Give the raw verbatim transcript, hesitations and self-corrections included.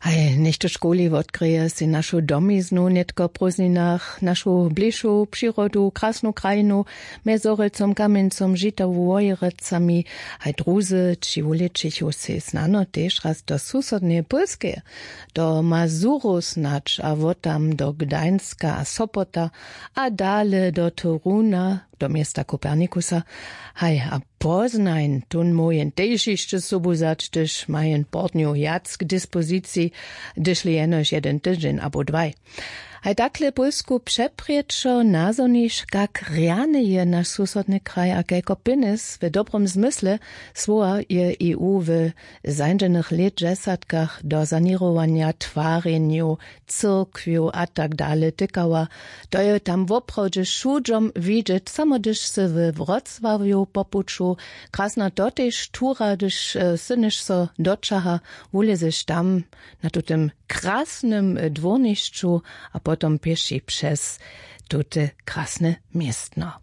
Haj něchtó školi wotkrěje sej našu domiznu nětko w prózdninach, našu bližšu přirodu, krasnu krajinu, mjez zhorjelcom, kamjeńcom, žitawu, wojerecami. Haj druzy ći wulećichu sej snano tež raz do susodneje pólskeje, do mazuru snadź, a wot tam do gdańska a sopota, a dale do toruna, do města kopernikusa. Haj a poznajn tón móhł jen tež hišće sobu wzać, hdyž ma jen portnju wjac k dispoziciji, hdyžli jenož jedyn tydźeń abo dwaj. Haj takle pólsku přeprěčo nazhoniš, kak rjany je naš susodny kraj a kelko pjenjez w dobrom zmysle słowa je e u w zańdźenych lětdźesatkach do saněrowanja twarjenjow, cyrkwjow a tak dale tykała. To je tam woprawdźe wšudźom widźeć. Samo hdyž sy we wrocławju po puću, krasna to tež tura, hdyž synyš so doćaha, wulězeš tam na tutym krasnym dwórnišću a potom pěši přez tute krasne městno.